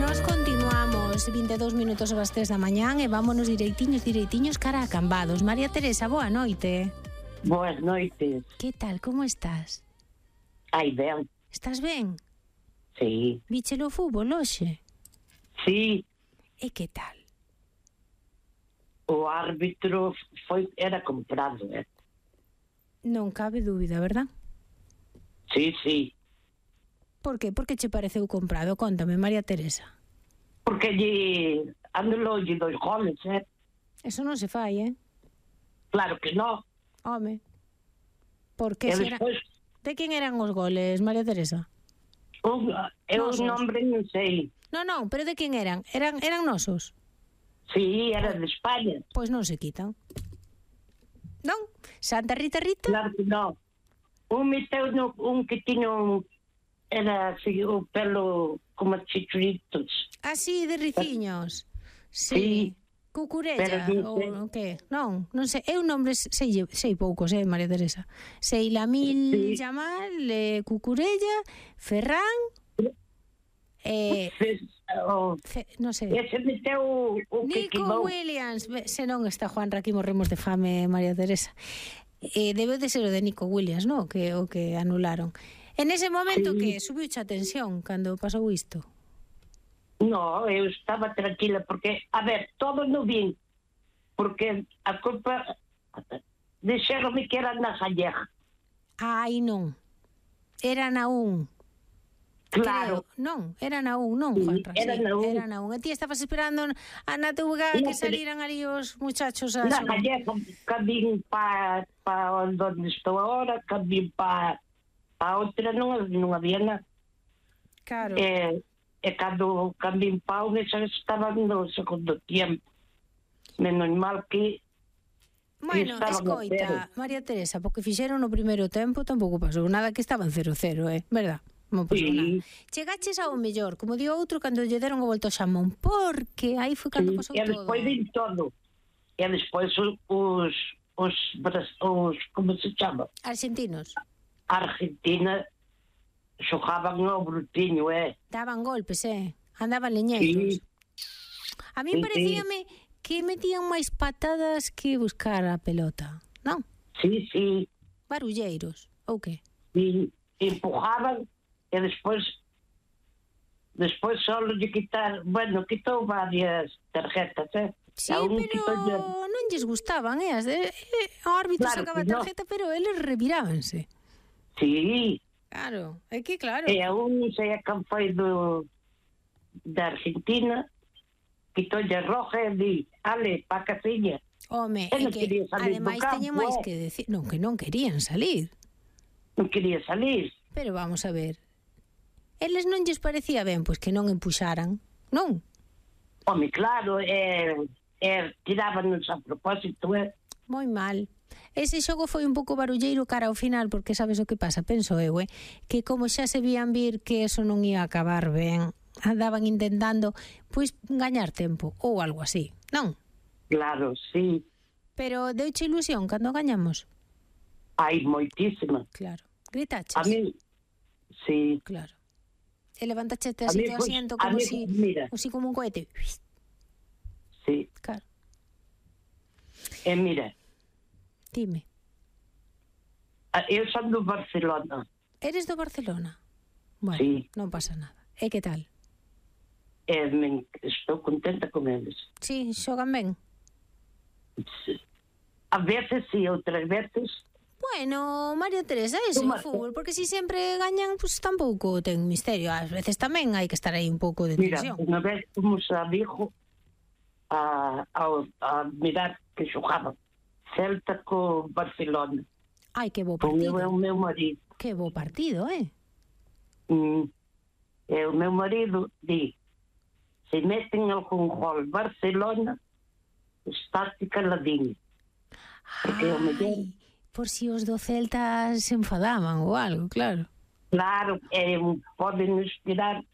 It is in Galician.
Nos continuamos 22 minutos sobre as 3 da mañán e vámonos direitiños cara a Cambados. María Teresa, boa noite. Boas noites. Que tal, como estás? Ai, ben. Estás ben? Sí. Víchelo o fútbol hoxe? Sí, E que tal? o árbitro era comprado, Non cabe dúbida, verdad? Sí, sí. Por qué? Por que che pareceu comprado? Cóntame, María Teresa. Porque anulou 2 goles, Eso non se fai, Claro que no. Home. Por que E será? despois, De quen eran os goles, María Teresa? eu Nosos. nombre non sei. Non, pero de quen eran? Eran nosos? Sí, era de España. Pois non se quitan. Non? Santa Rita? Claro que no. Meteu un que tiña era así, o pelo como chichuritos. Ah, sí, de riciños. Sí. Cucurella, Pero ou que? Non sei. Eu nombres sei poucos, María Teresa. Sei Lamil Sí. Yamal, Cucurella, Ferran, non sei. Ese meteu o que Nico quemou. Williams. Se non está Juan Raquí, morremos de fame, María Teresa. Debe de ser o de Nico Williams, non? O que anularon. En ese momento Sí. que subiu a tensión cando pasou isto. No, eu estaba tranquila porque, a ver, todo no vin, porque a culpa dixeronme que era na Gallega. Ai, non. Era na un. Claro. Creo. Non, era na un, non, Sí, Juanra. era na un. Era na un. E ti estabas esperando na TVG No, que salieran ali os muchachos a Na Gallega, cabín para onde estou agora, cabín para outra, non había nada. Claro. E cando cabín para outra, xa estaba no segundo tiempo. Menos mal que Bueno, escoita, María Teresa, porque fixeron no primeiro tempo tampouco pasou nada, que estaban 0-0, verdad? Non pasou nada. Chegaches ao mellor, como digo outro, cando lle deron a volta ao xamón, porque aí foi cando pasou e todo. despois vin todo. E despois os como se chama? Argentinos. Argentina xogaban ao brutiño, Daban golpes, andaban leñeiros. Sí. A mí Sí, parecíame que metían máis patadas que buscar a pelota, non? Sí, sí. Barulleiros, ou que? E empujaban e despois só lle quitou varias tarjetas, Sí, pero non lles gustaban, o árbitro Claro sacaba a que no. tarjeta, pero eles revirábanse. Sí. Claro, é que claro. E a un sei a quen foi da Argentina, quitoulle roja e di, ale, pa casiña. Home, Eu é non que quería salir do ademais campo, teñen máis que decir, non, que non querían salir. Non quería salir. Pero vamos a ver. Eles non lles parecía ben, pois que non empuxaran, non? Home, claro, tirábanos a propósito, Moi mal. Ese xogo foi un pouco barulleiro cara ao final, porque sabes o que pasa, penso eu, que como xa se vían vir que eso non ia acabar ben, andaban intentando, pois, gañar tempo, ou algo así, non? Claro, sí. Pero deuche ilusión cando gañamos? Hai moitísima. Claro. Gritaches? A mí, sí. Claro. E levantaches A así mí, do pues, asiento a como mí, si, mira. así como un cohete. Sí. Claro. E mira, Dime. eu son do Barcelona. Eres do Barcelona? Bueno, Sí. non pasa nada. E que tal? Estou contenta con eles. Sí, xogan ben? A veces sí, outras veces Bueno, María Teresa, ese é o fútbol, porque si sempre gañan, pues tampouco ten misterio. Ás veces tamén hai que estar aí un pouco de mira, tensión. unha vez fomos a Vigo a mirar que xogaban Celta co Barcelona. Ai, que bo Con partido. o meu marido. Que bo partido, E o meu marido di, se meten algún gol Barcelona, estate caladinho. Porque o mellor... Ai, por si os do Celta se enfadaban ou algo, claro. Claro, poden nos tirar